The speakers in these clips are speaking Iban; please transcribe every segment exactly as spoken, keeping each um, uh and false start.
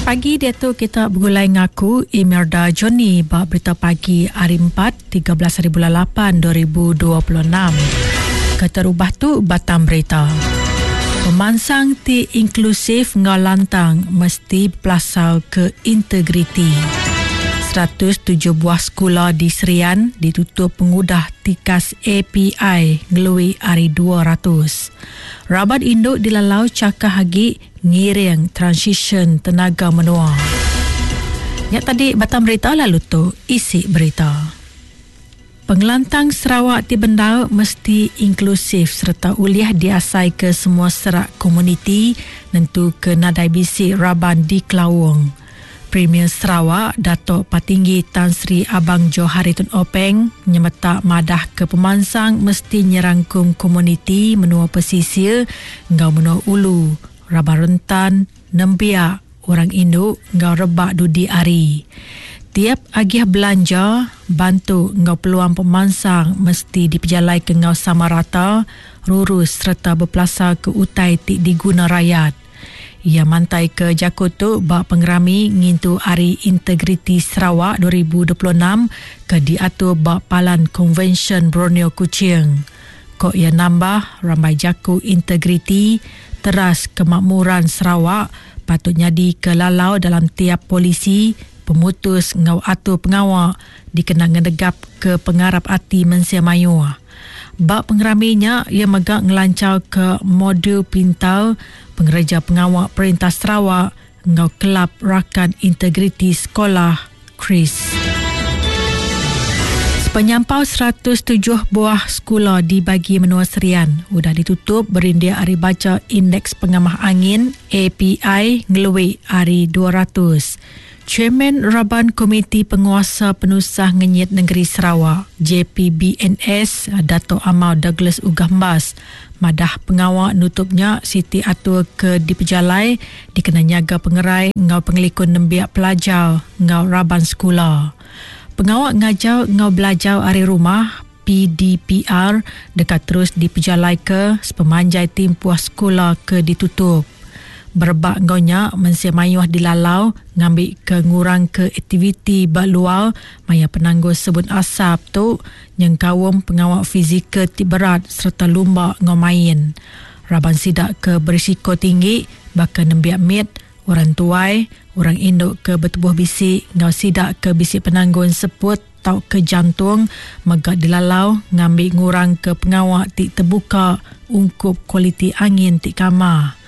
Pagi dia tu kita bergulai ngaku Imelda Johnny bak berita pagi hari empat tiga belas hari bulan lapan dua ribu dua puluh enam. Keterubah tu batang berita. Pemansang ti inklusif ngau lantang mesti pelasar ke integriti. seratus tujuh buah sekolah di Serian ditutup pengudah tikas A P I ngelui hari dua ratus. Rabat induk dilalau cakah agi ngiring transition tenaga menua. Ya tadi batang berita lalu tu isi berita. Pengelantang Sarawak ti bendar mesti inklusif serta uliah diasai ke semua serak komuniti nentu ke nadai bisi raban di Kelawong. Premier Sarawak Datuk Patinggi Tan Sri Abang Johari Tun Openg nyemetak madah ke pemansang mesti nyerangkum komuniti menua pesisir ngau menua ulu, raban rentan, nembiak, orang induk ngau rebak dudi ari. Tiap agih belanja, bantu ngau peluang pemansang mesti dipejalai ke ngau sama rata, rurus serta berpelasar ke utai ti diguna rakyat. Ia mantai ke jaku tu bak pengerami ngintu Hari Integriti Sarawak dua ribu dua puluh enam ke diatur bak Palan Konvensyen Borneo Kuching. Kok ia nambah ramai jaku integriti teras kemakmuran Sarawak patut nyadi ke lalau dalam tiap polisi pemutus ngau atur pengawak dikena ngedegap ke pengarap ati mensia mayuh. Bak pengeraminya ia megak ngelancar ke modul pintar pengereja pengawak Perintah Sarawak ngau Kelab Rakan Integriti Sekolah Kris. Penyampau seratus tujuh buah sekolah di bagi menua Serian udah ditutup berindik hari baca Indeks Pengamah Angin A P I ngelui hari dua ratus. Chairman Raban Komiti Penguasa Penusah Ngenyit Negeri Sarawak J P B N S Dato' Amar Douglas Uggah Embas madah pengawak nutupnya Siti Atur ke dipejalai dikena nyaga pengerai ngau pengelikun nembiak pelajar ngau raban sekolah. Pengawak ngajar ngau belajar ari rumah P D P R dekat terus dipejalai ke sepemanjai timpuah sekolah ke ditutup. Berebak ngaunya mensia mayuh dilalau ngambil ke ngurang ke aktiviti berluar maya penangguh sebun asap tu nyengkawum pengawak fizikal ti berat serta lumba ngau main. Raban sidak ke berisiko tinggi bakal nembiak mit, orang tuai, orang induk ke bertubuh bisik ngau sidak ke bisik penangguhan seput tau ke jantung megak dilalau ngambil ngurang ke pengawak ti terbuka ungkup kualiti angin ti kamar.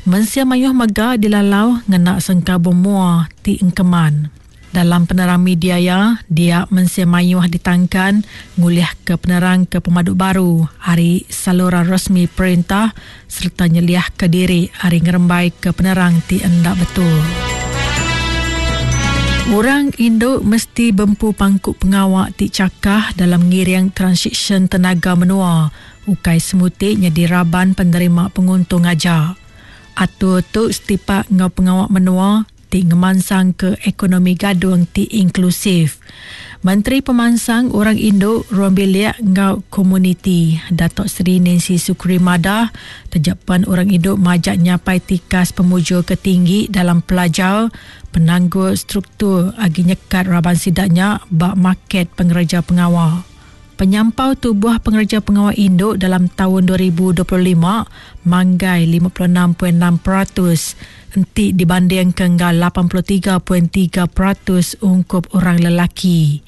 Mensia mayuh mega dilalau ngena sengkabung mua ti engkeman. Dalam penerang media ya, dia mensia mayuh ditangkan nguliah ke penerang ke pemaduk baru hari saluran resmi perintah serta nyeliah ke diri hari ngerembai ke penerang ti endak betul. Orang induk mesti bempu pangkuk pengawak ti cakah dalam ngiring transition tenaga menua. Ukai semutik nyadi raban penerima penguntung aja. Atur tu setipak ngau pengawak menua ti ngemansang ke ekonomi gadung ti inklusif. Menteri Pemansang Orang Induk Ruang Bilik ngau Komuniti Datuk Seri Nancy Sukri Madah terjapan orang induk majak nyapai tikas pemujur ketinggi dalam pelajar penangguh struktur agi nyekat raban sidaknya bak market pengereja pengawal. Penyampau tubuh pengereja pengawal induk dalam tahun dua ribu dua puluh lima manggai lima puluh enam perpuluhan enam peratus enti dibanding ke enggal lapan puluh tiga perpuluhan tiga peratus ungkup orang lelaki.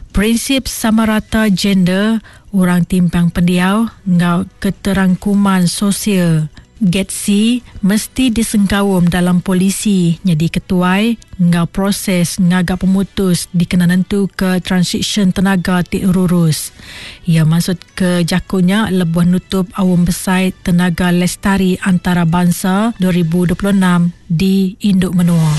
Prinsip sama rata gender, orang timpang pendiau engau keterangkuman sosial G E T S I mesti disengkawum dalam polisi jadi ketuai ngau proses ngagak pemutus dikena nentu ke transition tenaga ti rurus. Ia maksud ke jakunya lebuh nutup awam besar tenaga lestari antarabangsa dua ribu dua puluh enam di Induk Menua.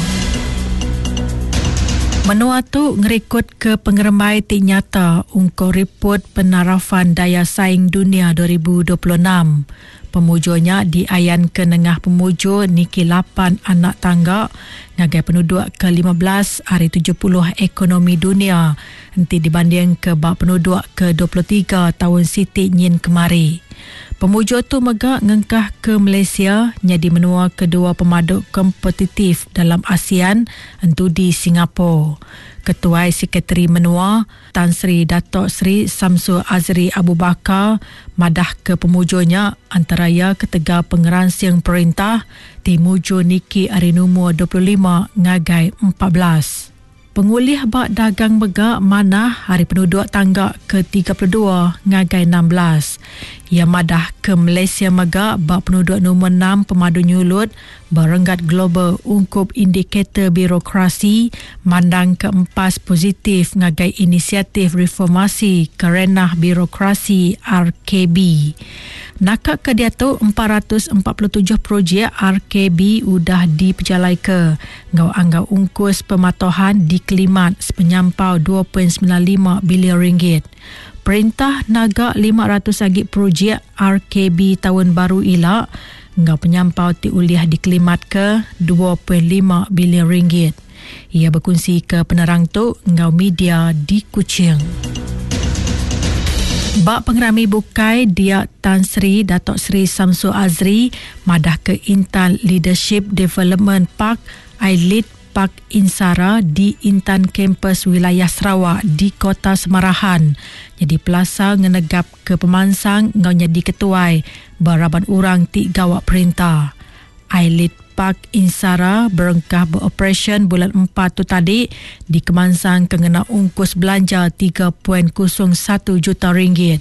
Menua tu ngerikut ke pengerembai ti nyata ungkup report penarafan daya saing dunia dua ribu dua puluh enam. Pemujurnya diayan ke nengah pemujur niki lapan anak tangga ngagai penduduk ke lima belas hari tujuh puluh ekonomi dunia enti dibanding ke bak penduduk ke dua puluh tiga tahun Siti Nyin kemari. Pemujur tu mega ngengkah ke Malaysia jadi menua kedua pemaduk kompetitif dalam ASEAN entu di Singapura. Ketua Sekretari Menua Tan Sri Datuk Sri Samsul Azri Abu Bakar madah ke pemujurnya antara ia ketegal pengeransing perintah ti mujur niki hari nombor dua puluh lima ngagai empat belas. Pengulih bak dagang mega manah hari penduduk tangga ke tiga puluh dua ngagai enam belas. Ia madah ke Malaysia mega bak penduduk nombor enam pemadu nyulut berenggat global ungkup indikator birokrasi mandang keempas positif ngagai inisiatif reformasi kerenah birokrasi R K B. Nakak ke dia tu empat ratus empat puluh tujuh projek R K B udah dipejalai ke ngau anggau ungkus pematuhan di kelimat sepenyampau dua perpuluhan sembilan lima bilion ringgit. Perintah naga lima ratus agi projek R K B tahun baru ilak ngau penyampau ti uliah dikelimat ke dua perpuluhan lima bilion ringgit. Ia berkongsi ke penerang tu ngau media di Kuching. Bak pengerami bukai dia Tan Sri Datuk Sri Samsul Azri madah ke Intan Leadership Development Park I L E D Park Insara di Intan Kampus Wilayah Sarawak di Kota Semarahan. Jadi pelasa ngenegap ke pemansang ngau nyadi ketuai beraban orang ti gawak perintah. I L E D Park Insara berengkah beroperasi bulan empat tu tadi di Kemansang kena ungkus belanja tiga perpuluhan kosong satu juta ringgit.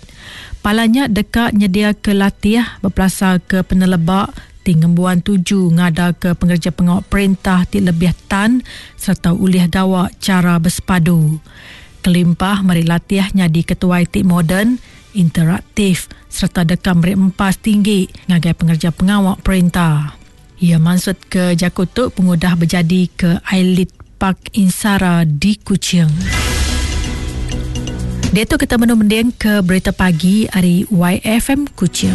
Palanya dekat nyedia ke latih berpelasar ke penelebak tinggembuan tuju ngada ke pengerja pengawal perintah ti lebih tan serta ulih gawak cara bersepadu. Kelimpah mari latihnya di ketua I T moden, interaktif serta dekam meri empas tinggi ngagai pengerja pengawal perintah. Ia maksud ke Jakutuk pengudah berjadi ke I L E D Park Insara di Kuching. Dia tu kita menumending ke berita pagi hari Y F M Kuching.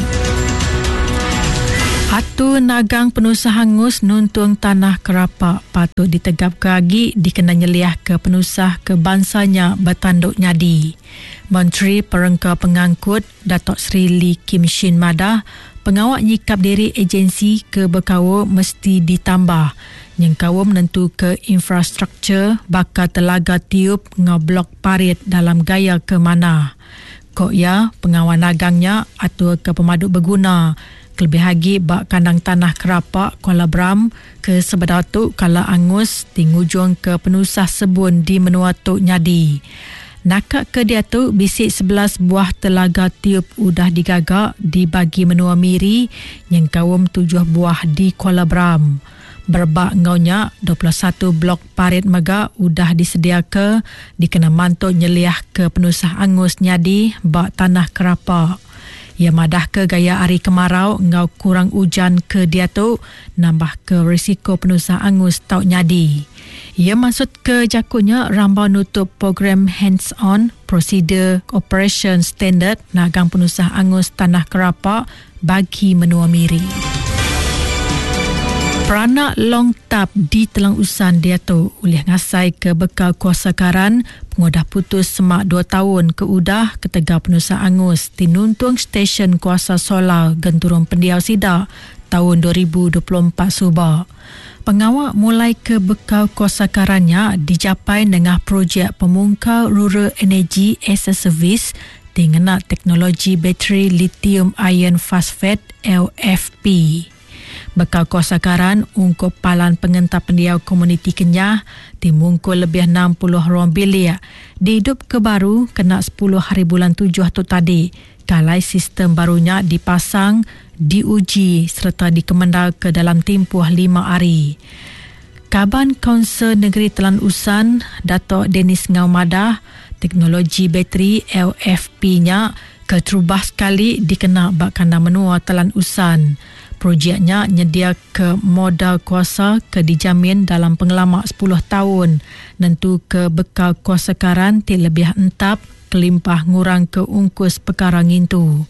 Atu nagang penusah hangus nuntung tanah kerapak patut ditegap ke agi dikena nyeliah ke penusah ke bangsanya bertanduk nyadi. Menteri Perengka Pengangkut Datuk Seri Lee Kim Shin madah pengawak nyikap diri agensi ke berkawa mesti ditambah. Nyengkawa menentu ke infrastruktur bakal telaga tiup ngau blok parit dalam gaya ke mana. Kok ya pengawal nagangnya atur ke pemaduk berguna. Kelebih lagi bak kandang tanah kerapak Kuala Bram ke sebedau tu kala angus tingujung ke penusah sebun di menua tu nyadi. Nakak ke dia tu bisik sebelas buah telaga tiup udah digagak dibagi menua Miri yang kawum tujuh buah di Kuala Bram. Berbak ngaunya dua puluh satu blok parit mega udah disediaka dikena mantuk nyeliah ke penusah angus nyadi bak tanah kerapak. Ia madah ke gaya hari kemarau ngau kurang hujan ke dia tu nambah ke risiko penusah angus tau nyadi. Ia maksud ke jakunya rambau nutup program hands-on prosedur operation standard nagang penusah angus tanah kerapak bagi menua Miri. Peranak Long Tap di Telang Usan dia tu ulih ngasai ke bekal kuasa karan pengudah putus semak dua tahun ke udah ketegal penusah angus tinuntung stesen kuasa solar genturung pendiau sidak tahun dua ribu dua puluh empat subak. Pengawak mulai ke bekal kuasa karannya dicapai dengan projek pemungkal Rural Energy as a Service dengan teknologi bateri lithium iron phosphate L F P. Bekal kuasa karan ungkup palan pengentar pendiau komuniti Kenyah timungkul lebih enam puluh ruang bilik dihidup ke baru kena sepuluh hari bulan tujuh tu tadi. Kalai sistem barunya dipasang, diuji serta dikemendal ke dalam tempoh lima hari. Kaban Kaunsil Negeri Telang Usan, Datuk Dennis Ngau madah, teknologi bateri L F P-nya keterubah sekali dikena bak kandang menua Telang Usan. Projeknya nyedia ke modal kuasa ke dijamin dalam pengelamak sepuluh tahun. Nentu ke bekal kuasa karan ti lebih entap kelimpah ngurang ke ungkus perkara ngintu.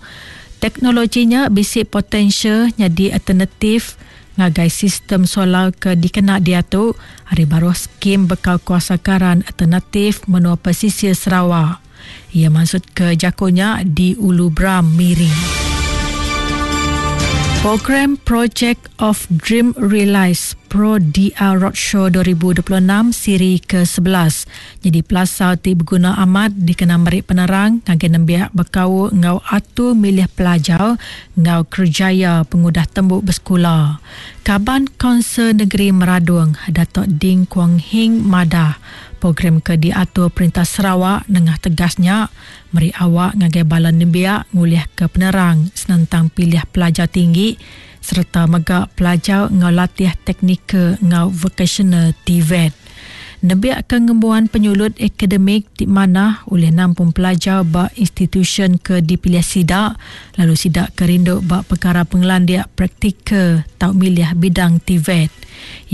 Teknologinya bisik potensial jadi alternatif ngagai sistem solar ke dikena dia tu hari baru skim bekal kuasa karan alternatif menua pesisir Sarawak. Ia maksud ke jakonya di Ulu Bram Miri. Program Project of Dream Realize Pro D R Roadshow dua ribu dua puluh enam siri ke sebelas. Jadi pelasar ti berguna amat dikena merik penerang ngagai nembiak bekau ngau atu milih pelajar ngau kerjaya pengudah tembuk bersekula. Kaban Kaunsil Negeri Meradong Datuk Ding Kuong Hiing madah program ke diatur Perintah Sarawak nengah tegasnya meri awak ngagai bala nembiak ngulih ke penerang senentang pilih pelajar tinggi serta mega pelajar ngau latih teknikal ngau vocational T V E T. Nembiak ke ngembuan penyulut akademik di mana oleh nampung pelajar ba institution ke dipilih sidak lalu sidak ke rindu ba perkara pengelandiak praktikal tau milih bidang T V E T.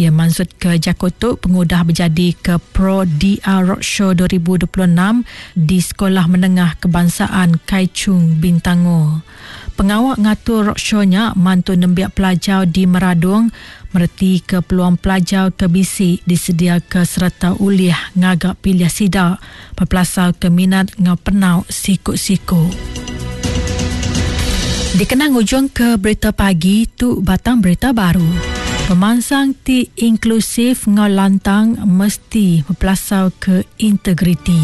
Ia maksud ke Jakotuk pengudah berjadi ke Pro D R Roadshow dua ribu dua puluh enam di Sekolah Menengah Kebangsaan Kai Chung Bintangor. Pengawak ngatur roadshow-nya mantu nembiak pelajar di Meradong mereti ke peluang pelajar ke bisi disedia ke serta ulih ngagak pilih sidak berpelasar ke minat ngau penau sikuk-sikuk. Dikenang ujung ke berita pagi tu batang berita baru. Pemansang ti inklusif ngau lantang mesti berpelasar ke integriti.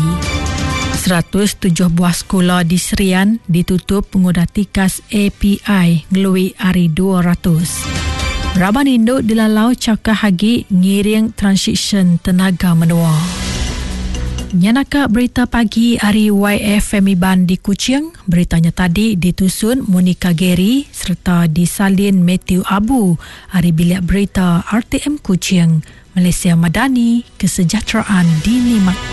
seratus tujuh buah sekolah di Serian ditutup pengudah tikas A P I ngelui hari dua ratus. Raban Induk dilalau cakah hagi ngiring transition tenaga menua. Nyanaka berita pagi hari Y F M Iban di Kuching. Beritanya tadi ditusun Monica Gary serta disalin Matthew Abu hari bilik berita R T M Kuching. Malaysia Madani, kesejahteraan dinikmati.